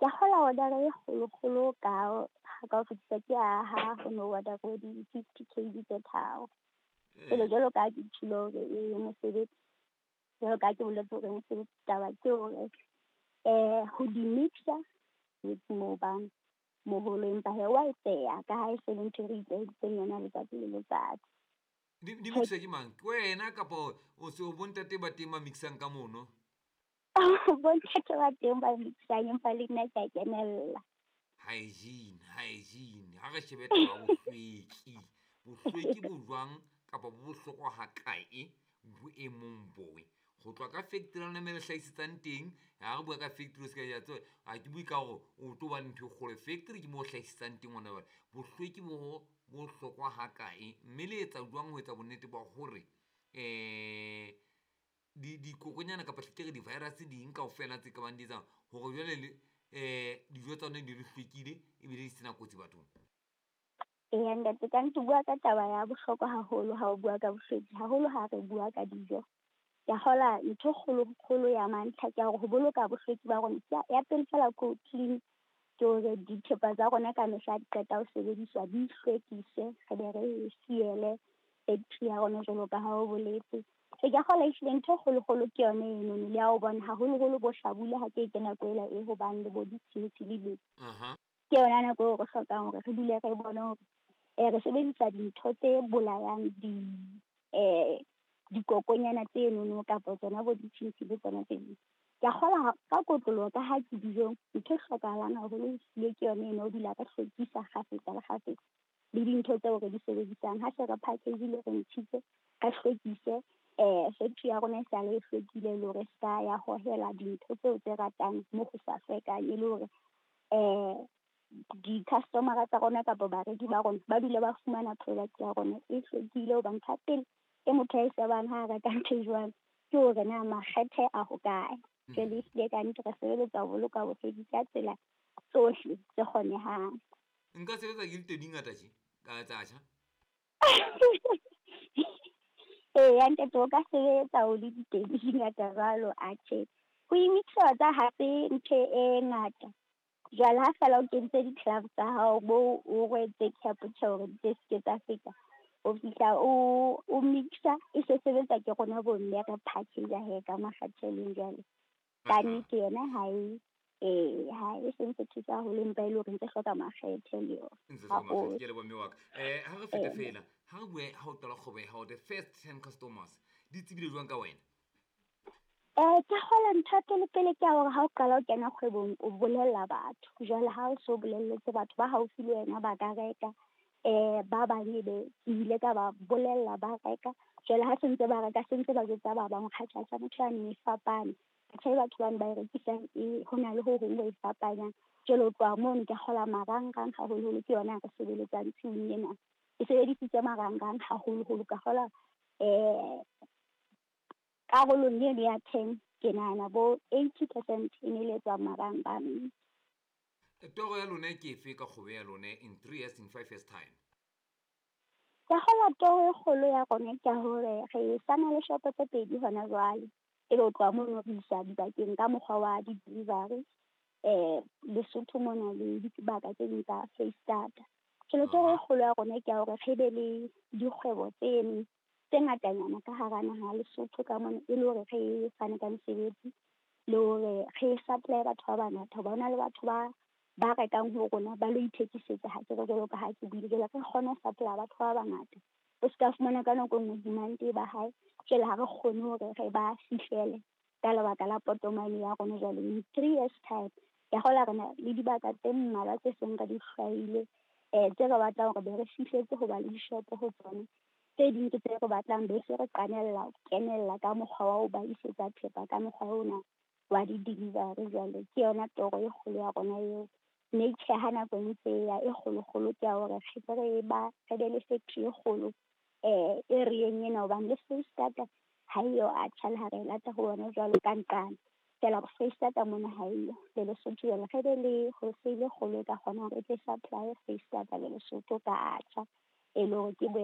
Ke kgola order e kgolo-kgolo ka ka ho fetisa ke ha ho no order di-50 kg tse tharo. Jwale jwalo ka ha ke tjholo hore e mosebetsi, jwalo ka ha ke boletse hore mosebetsi taba ke hore ho di-mixer moo bang moholo, empa hee wa etseha ka ha e se le ntho e re itlwaeditseng yona letsatsi le letsatsi. Di mixwa ke mang? Ke wena kapa o se bontate ba teng ba mixang ka mono? Bontate ba teng ba mixang, empa le nna ke a kenella. Hygiene, hygiene. Ha re shebe taba ya bohlweki. Bohlweki bo jwang kapa bo bohlokwa ha kae boemong boe? Ho tloha ka factory ya lona mme le hlahisetsang teng. Ha re bua ka factory o se ka ya tseba, ha ke bue ka hore o tlo ba le ntho e kgolo. Factory ke mo o hlahisetsang teng hona jwale. Bohlweki bo bohlokwa ha kae, mme le etsa jwang ho etsa bonnete ba hore dikokonyana kapa hle ke re di-virus ding kaofela tse kabang di etsang hore jwale le dijo tsa lona di di hlwekile ebile di sena kotsi bathong. Eya ntate, ka nnete o bua ka taba ya bohlokwa haholo ha o bua ka bohlweki, haholo ha re bua ka dijo. Ke a kgola ntho e kgolo kgolo ya mantlha ke ya hore ho boloka bohlweki ba rona. Ya pele fela ke ho clean, ke hore dithepa tsa rona ka mehla di qeta ho sebediswa, di hlwekise, re be re siele factory ya rona jwalo ka ha o boletse. Ke a kgolwa ehlile ntho e kgolo kgolo ke yona enono le ya ho bona haholoholo bo hlabula ha ke nako ela e ho bang le bo ditshintshi le di. Ke yona nako eo re hlokang hore re dule re bone hore re sebedisa dintho tse bolayang di dikokonyana tse nono kapa tsona bo ditshintshi le tsona tse ding. Ke a kgolwa ka kotloloho ka ha ke dijong, ntho e hlokahalang haholo ehlile ke yona eno ho dula re hlwekisa kgafetsa le kgafetsa le dintho tseo re di sebedisang. Ha se re package-ile, re ntshitse, re hlwekise factory ya rona e sale e hlwekile le hore se ka ya hohela dintho tseo tse ratang mo ho sa hlwekang, e le hore di-customer-a tsa rona kapa bareki ba rona ba dule ba fumana product ya rona e hlwekile. Hobane ntho ya pele e motho a e shebang ha a reka ntho e jwalo ke hore na makgethe a hokae. Jwale ehlile ka nnete re sebeletsa ho boloka bohlweki ka tsela tsohle tse kgonehang. Nka sebetsa ke di ngata tje ka tsa tjha. Eya ntate, o ka sebetsa o le diteng di ngata jwalo. Atjhe, ho imixa tsa hape ntho e ngata. Jwale ha fela o kentse di-gloves tsa hao bo o rwetse cap tjhe hore di se ke tsa feta, o fihla o mixa e se sebetsa ke rona bomme re package he ka makgatheleng jwale. Ka nnete yona ha e ha e sentse thusa haholo, empa e le hore ntse hloka makgethe le yona. Ntse hloka makgethe, ke a leboha mme wa ka. Ha re fete fela, ha re bue ha o qala kgwebo ya hao, the first 10 customers di tsebile jwang ka wena? Ke kgola ntho ya pele pele ke ya hore ha o qala ho kena kgwebong o bolella batho. Jwale ha o so bolelletse batho ba haufi le wena ba ka reka, ba bang ebe ke ile ka ba bolella ba reka. Jwale ha se ntse ba reka, se ntse ba jwetsa ba bang hore atjhe motho yane e fapane. Atjhe batho bane ba e rekisang e ho na le ho hong ho e fapanyang. Jwale ho tloha mono ke kgola marangrang haholoholo ke yona re sebeletsang tshiung ena. Ke sebedisitse marangrang haholoholo ka kgola karolong eno ya 10 ke nahana bo 80% e ne le tswa marangrang. Toro ya lona ke efe ka kgwebo ya lona in 3 years, in 5 years time? Ka kgola toro e kgolo ya rona ke hore re sana le shopo tse pedi hona jwale. Ebe ho tloha mono re isa dibakeng ka mokgwa wa di-delivery, Lesotho mona le dibaka tse ding tsa Foreisetata. Jwale toro e kgolo ya rona ke ya hore re be le dikgwebo tse tse ngatanyana ka hara naha ya Lesotho ka mona, e le hore re fane ka mesebetsi le hore re supply batho ba bangata. Hoba hona le batho ba rekang ho rona ba lo ithekisetsa, ha ke re jwalo ka ha ke buile. Jwale re kgone ho supply batho ba bangata. O ska fumana ka nako e nngwe demand e ba hae, jwale ha re kgone hore re ba fihlele ka lebaka la potomane ya rona. Jwale in 3 years time ke kgola re na le dibaka tse mmalwa tse seng re di hlwaile, tse re batlang hore be re fihletse ho ba le dishopo ho tsona. Tse ding ke tse re batlang be se re qanella kenella ka mokgwa wa ho ba isetsa thepa ka mokgwa ona wa di-delivery. Jwale ke yona toro e kgolo ya rona eo. Mme tjhe, ha nako e ntse e ya e kgolokgolo ke ya hore re tle re ba re be le factory e kgolo area-eng ena, hobane le Foreisetata ha eyo atjha le ha re lata ho bona jwalo ka nqane. Feela Foreisetata mona ha eyo le Lesotho. Jwale re be le wholesale e kgolo e ka kgonang hore e tle supply Foreisetata le Lesotho ka atjha, e le hore ke